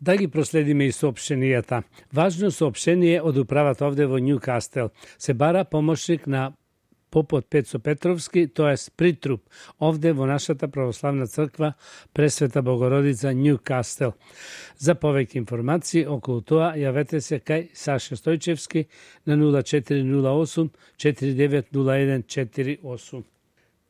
Да ги проследиме и соопштенијата. Важно соопштение од управата овде во Њукастел. Се бара помошник на попот Пецо Петровски, тоест притруп, овде во нашата православна црква Пресвета Богородица Њукастел. За повеќе информации околу тоа јавете се кај Саша Стојчевски на 0408 4901 48.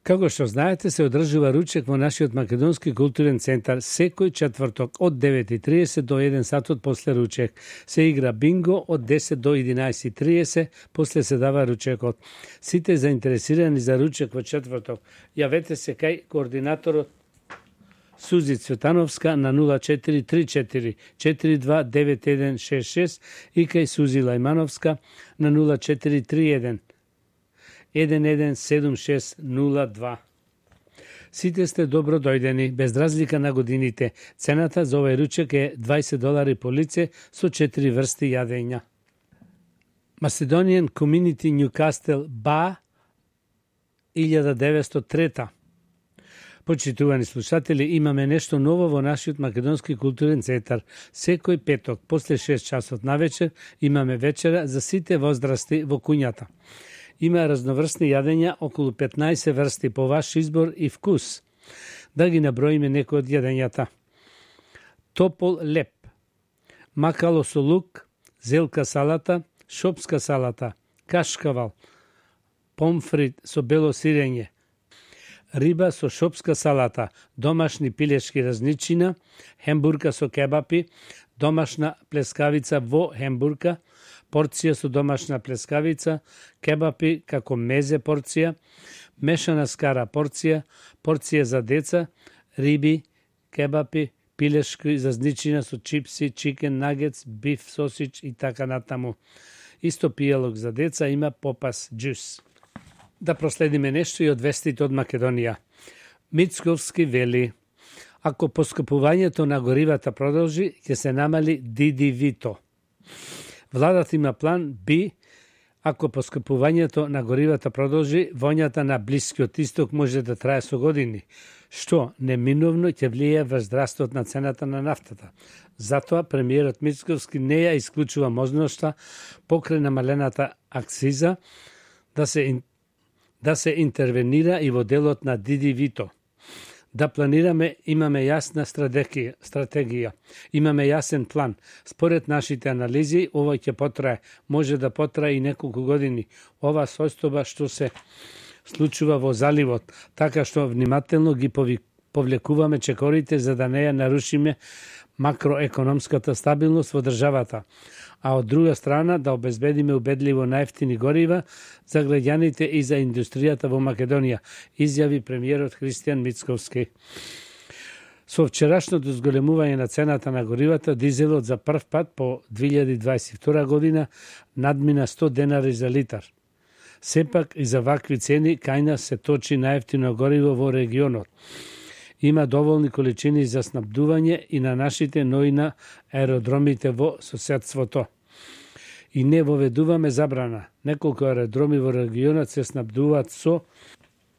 Како што знаете, се одржува ручек во нашиот Македонски културен центар секој четврток од 9:30 до 1 сатот после ручек. Се игра бинго од 10 до 11:30, после се дава ручекот. Сите заинтересирани за ручек во четврток, јавете се кај координаторот Сузи Цветановска на 0434 429166 и кај Сузи Лајмановска на 0431 117602. Сите сте добро дојдени, без разлика на годините. Цената за овој ручек е $20 по лице со 4 врсти јадења. Macedonian Community Newcastle BA 1903. Почитувани слушатели, имаме нешто ново во нашиот Македонски културен центар. Секој петок, после 6 часот навечер, имаме вечера за сите возрасти во куњата. Има разноврсни јадења, околу 15 врсти по ваш избор и вкус. Да ги наброиме некои од јадењата. Топол леп, макало со лук, зелка салата, шопска салата, кашкавал, помфрит со бело сирење, риба со шопска салата, домашни пилешки разничина, хембурка со кебапи, домашна плескавица во хембурка, порција со домашна плескавица, кебапи како мезе порција, мешана скара порција, порција за деца, риби, кебапи, пилешки зазничина со чипси, чикен нагетс, биф сосич и така натаму. Исто пијалок за деца има попас джус. Да проследиме нешто и од вестите од Македонија. Мицковски вели: ако поскапувањето на горивата продолжи, ќе се намали ДДВ-то. Владата има план Б, ако поскапувањето на горивата продолжи, воњата на Блискиот Исток може да трае со години, што неминовно ќе влијае врз растот на цената на нафтата. Затоа премиерот Мицковски не ја исклучува можноста покрај намалената акциза да се интервенира и во делот на ДДВ-то. Да планираме, имаме јасна стратегија, имаме јасен план. Според нашите анализи, ова ќе потрае, може да потрае и неколку години. Ова состојба што се случува во заливот, така што внимателно ги повлекуваме чекорите за да не ја нарушиме макроекономската стабилност во државата, а од друга страна да обезбедиме убедливо најефтини горива за граѓаните и за индустријата во Македонија, изјави премиерот Христијан Мицковски. Со вчерашното зголемување на цената на горивата, дизелот за прв пат по 2022 година надмина $100 за литар. Сепак и за вакви цени кај нас се точи најефтино гориво во регионот. Има доволни количини за снабдување и на нашите, но и на аеродромите во соседството. И не воведуваме забрана. Неколку аеродроми во регионот се снабдуваат со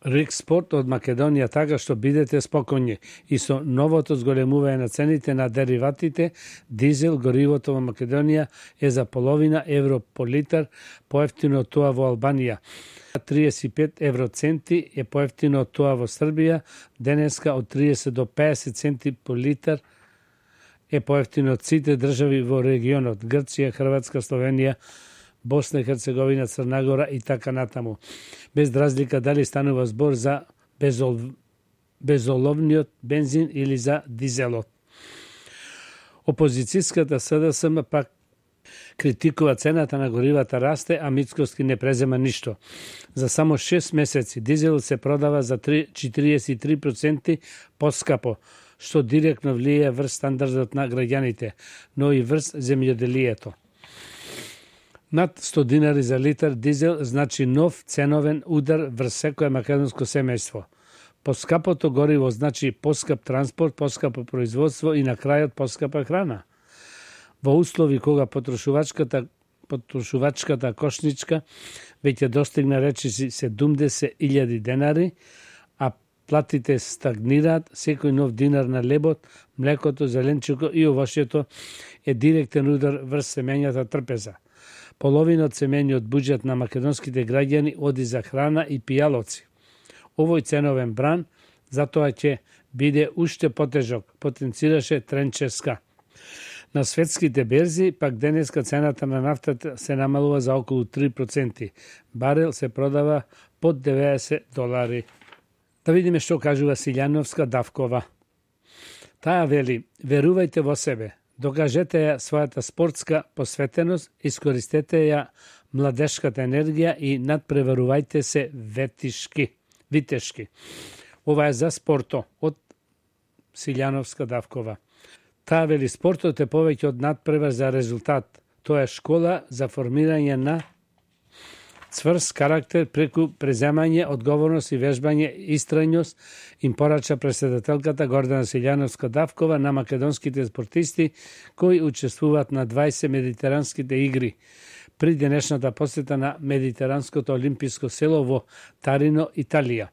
рекспорт од Македонија, така што бидете спокојни. И со новото зголемување на цените на дериватите, дизел, горивото во Македонија е за половина евро по литар, поевтино од тоа во Албанија. 35 евроценти е поевтино од тоа во Србија, денеска од 30 до 50 центи по литар е поевтино од сите држави во регионот, Грција, Хрватска, Словенија, Босна и Херцеговина, Црна Гора и така натаму. Без разлика дали станува збор за безоловниот бензин или за дизелот. Опозицијската СДСМ пак критикува цената на горивата расте, а Мицковски не презема ништо. За само 6 месеци дизелот се продава за 43% поскапо, што директно влијае врз стандардот на граѓаните, но и врз земјоделието. Над $100 за литар дизел значи нов ценовен удар врз секое македонско семејство. Поскапото гориво значи поскап транспорт, поскапо производство и на крајот поскапа храна. Во услови кога потрошувачката кошничка веќе достигна речиси $70,000, а платите стагнираат, секој нов динар на лебот, млекото, зеленчуко и овошјето е директен удар врз семењата трпеза. Половина од семењиот буџет на македонските граѓани оди за храна и пијалоци. Овој ценовен бран затоа ќе биде уште потежок, потенцираше Тренческа. На светските берзи, пак денеска цената на нафтата се намалува за околу 3%. Барел се продава под $90. Да видиме што кажува Силјановска Давкова. Таа вели, верувајте во себе, докажете ја својата спортска посветеност, искористете ја младешката енергија и надпреварувајте се витешки. Ова е за спорто од Силјановска Давкова. Таа вели, спортот е повеќе од надпревар за резултат. Тоа е школа за формирање на цврст карактер преку преземање, одговорност и вежбање, истрајност, им порача председателката Гордана Силјановска Давкова на македонските спортисти кои учествуваат на 20 медитеранските игри при денешната посета на Медитеранското олимписко село во Тарино, Италија.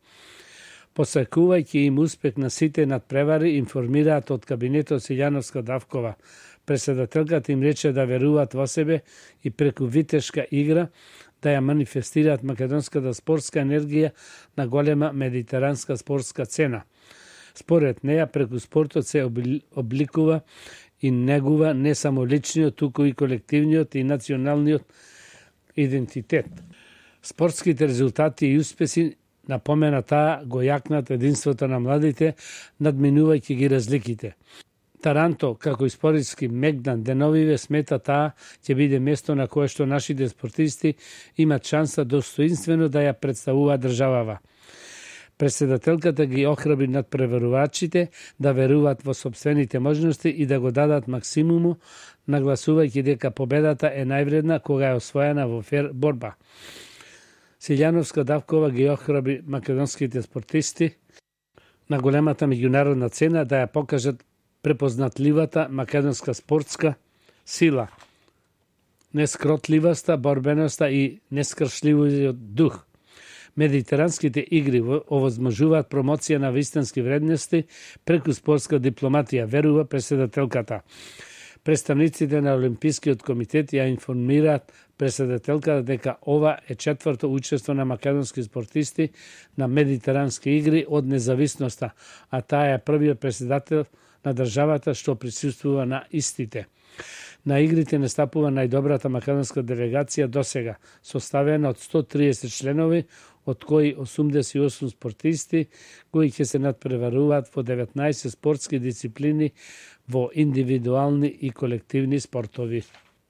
Посакувајќи им успех на сите надпревари, информираат од кабинетот Силјановска Давкова. Председателката им рече да веруваат во себе и преку витешка игра да ја манифестираат македонската спортска енергија на голема медитеранска спортска цена. Според неја, преку спортот се обликува и негува не само личниот, туку и колективниот и националниот идентитет. Спортските резултати и успеси, напомена таа, го јакнат единството на младите, надминувајќи ги разликите. Таранто, како историски мегдан деновиве, смета таа ќе биде место на кое што нашите спортисти имат шанса достоинствено да ја представуваат државава. Председателката ги охрабри надпреварувачите да веруваат во сопствените можности и да го дадат максимуму, нагласувајќи дека победата е највредна кога е освоена во фер борба. Силјановска Давкова ги охрабри македонските спортисти на големата меѓународна цена да ја покажат препознатливата македонска спортска сила, нескротливоста, борбеноста и нескршливиот дух. Медитеранските игри овозможуваат промоција на вистински вредности преку спортска дипломатија, верува председателката. Представниците на Олимпискиот комитет ја информираат председателката дека ова е четврто учество на македонски спортисти на медитерански игри од независноста, а таа е првиот председател на државата што присуствува на истите. На игрите настапува најдобрата македонска делегација досега, составена од 130 членови, од кои 88 спортисти, кои ќе се надпреваруваат во 19 спортски дисциплини во индивидуални и колективни спортови.